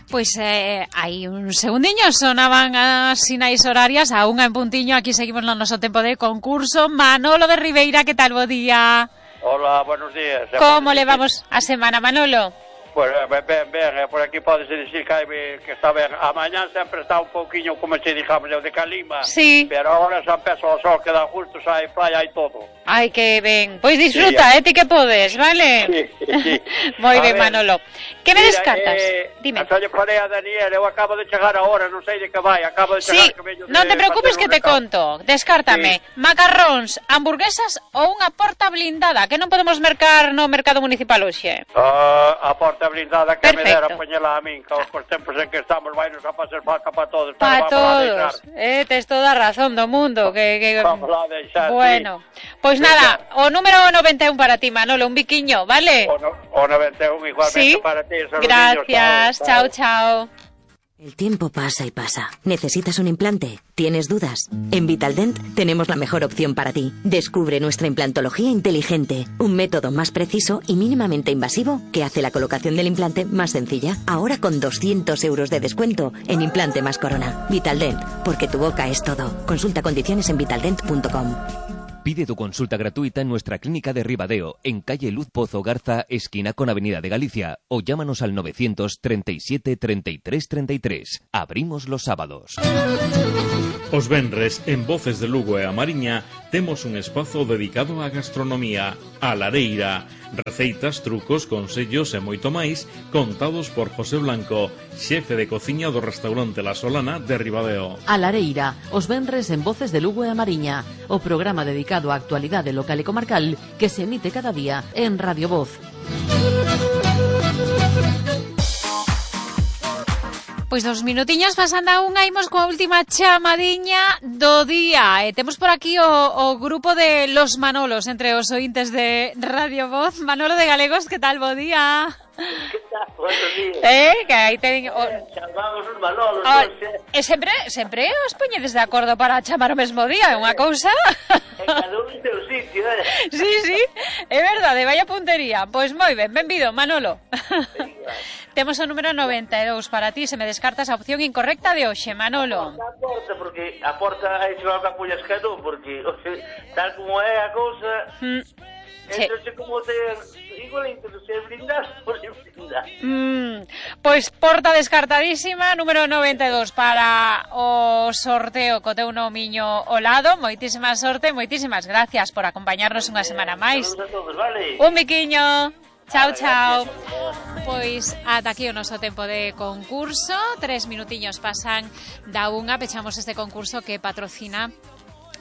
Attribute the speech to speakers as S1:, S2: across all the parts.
S1: Pois hai un segundiño sonaban as sinais horarias a unha en puntiño. Aquí seguimos no noso tempo de concurso. Manolo de Ribeira, que tal, bo día?
S2: Hola, buenos días.
S1: Como levamos a semana, Manolo?
S2: Pues ben, por aquí podese dicir que está ben. A mañán sempre está un pouquiño, como se digamos, de calima.
S1: Sí.
S2: Pero agora xa empeza o sol, que dá justo, xa hai playa e todo.
S1: Ai, que ben. Pois disfruta, ti que podes, vale?
S2: Sí.
S1: Moi ben, Manolo. Que me descartas? Dime.
S2: Xa lle falei a Daniel, eu acabo de chegar agora, non sei de que vai, acabo de chegar.
S1: Sí, non te preocupes que te conto. Descártame, macarróns, hamburguesas ou unha porta blindada, que non podemos mercar no mercado municipal hoxe.
S2: A porta blindada que
S1: Perfecto.
S2: me dera poñela a min, que os tempos en que estamos vai nos a facer falta para todos.
S1: Para todos. Tes toda a razón do mundo.
S2: Vamos lá a deixar,
S1: bueno, pois nada, o número 91 para ti, Manolo, un biquiño, vale?
S2: O 91 igualmente
S1: ¿Sí?
S2: para ti.
S1: Gracias, chao.
S3: El tiempo pasa y pasa. ¿Necesitas un implante? ¿Tienes dudas? En Vitaldent tenemos la mejor opción para ti. Descubre nuestra implantología inteligente, un método más preciso y mínimamente invasivo que hace la colocación del implante más sencilla. Ahora con 200 euros de descuento en implante más corona. Vitaldent, porque tu boca es todo. Consulta condiciones en vitaldent.com.
S4: Pide tu consulta gratuita en nuestra clínica de Ribadeo, en calle Luz Pozo Garza, esquina con Avenida de Galicia, o llámanos al 937 33 33. Abrimos los sábados.
S5: Os venres, en Voces de Lugo e a Mariña, temos un espazo dedicado á gastronomía, a lareira. Receitas, trucos, consellos e moito máis contados por José Blanco, xefe de cociña do restaurante La Solana de Ribadeo.
S6: A lareira, os venres en Voces de Lugo e a Mariña, o programa dedicado á actualidade local e comarcal que se emite cada día en Radio Voz.
S1: Pois 2 minutiños pasando a unha, imos coa última chamadiña do día. Temos por aquí o grupo de los Manolos entre os ointes de Radio Voz. Manolo de Galegos, que tal, bo día?
S7: Que tal, buenos días.
S1: Que aí ten...
S7: Chamamos os Manolos,
S1: e sempre os poñedes de acordo para chamar o mesmo día, é unha cousa...
S7: En cada un en seu sitio,
S1: Sí, é verdade, vaya puntería. Pois moi ben, benvido, Manolo. Temos o número 92 para ti, se me descartas a opción incorrecta de hoxe, Manolo.
S7: A porta, porque a porta aí se vai a pullas que non, porque tal como é a cousa, entonces como te... Igual se brindas ou se brindas.
S1: Pois porta descartadísima, número 92 para o sorteo co teu nomiño ao lado. Moitísima sorte, moitísimas gracias por acompañarnos unha semana máis.
S7: Saludos a todos, vale?
S1: Un biquiño. Chao. Pois ata aquí o noso tempo de concurso. 3 minutiños pasan da unha. Pechamos este concurso que patrocina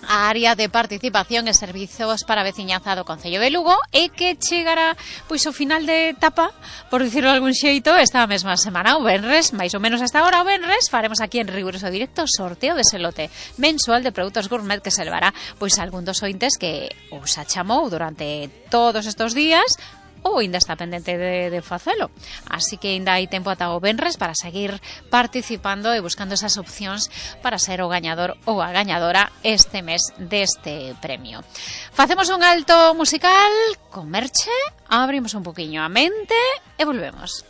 S1: a área de participación e servizos para a veciñanza do Concello de Lugo e que chegará pois ao final de etapa, por dicirlo de algún xeito, esta mesma semana, o venres, máis ou menos hasta agora o venres, faremos aquí en Riguroso Directo sorteo de ese lote mensual de produtos gourmet que se levará pois algún dos ointes que os achamou durante todos estos días ou ainda está pendente de facelo. Así que ainda hai tempo ata o venres para seguir participando e buscando esas opcións para ser o gañador ou a gañadora este mes deste premio. Facemos un alto musical con Merche, abrimos un poquinho a mente e volvemos.